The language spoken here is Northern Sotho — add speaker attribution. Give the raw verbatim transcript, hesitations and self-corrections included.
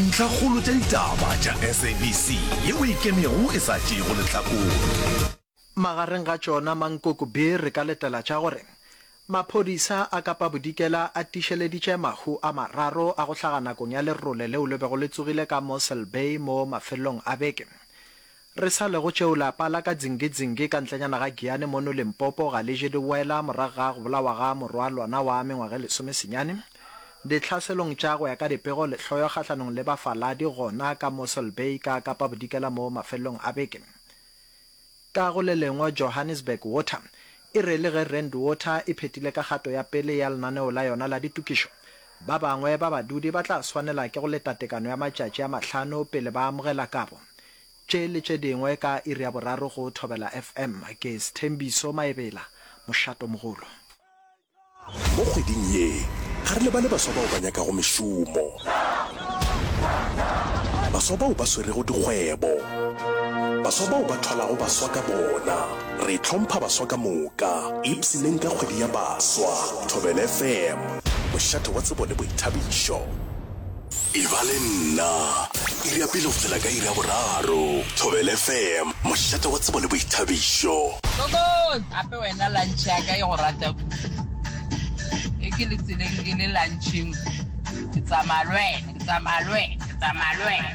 Speaker 1: Ntlhakgolo tša ditaba tša SABC yeo e ikemego e sa tšeego lehlakore.
Speaker 2: Magareng ga tšona mankoko B re ka letela tša gore maphodisa a Kapa Bodikela a tiišeleditše mahu a mararo a go hlaga nakong ya lerole leo le bego le tsogile ka Mossel Bay mo mafelelong a beke. Re sa le go tšeo lapa la ka Dzingidzingi ka ntlenyana ga Giyani mono Limpopo ga le je di wela morago ga go bolawa ga morwa lona wa mengwaga e lesomesenyane ditlhaselong tša go ya ka dipego lehloyo kgahlanong le bafaladi gona ka Mossel Bay ka Kapa Bodikela mo mafelelong a beke. Ka go le lengwe Johannesburg Water e re le ge Rand Water e phethile ka kgato ya pele ya lenaneo la yona la ditokišo, ba bangwe ba badudi ba tla swanela ke go leta tekano ya matšatši a mahlano pele ba amogela kabo. Tše le tše dingwe ka iri ya boraro go Thobela FM. Ke Sthembiso Maebela, Mošatomogolo.
Speaker 1: Mo kgweding ye, ga re lebale baswa bao ba nyakago mešomo, baswa bao ba swerego dikgwebo, baswa bao ba thwalago baswa ka bona. Re hlompha baswa ka moka. Ipshineng ka kgwedi ya baswa. Thobela FM, mošate wa tsebo le boithabišo. E ba le nna, iri ya pele go fihlela ka iri ya boraro. Thobela FM, mošate wa tsebo le boithabišo.
Speaker 3: Koko, gape wena lunch ya ka e go rata kudu. E ke le tseleng ke le luncheng, ke tsamaya le wena, ke tsamaya le wena, ke tsamaya le wena.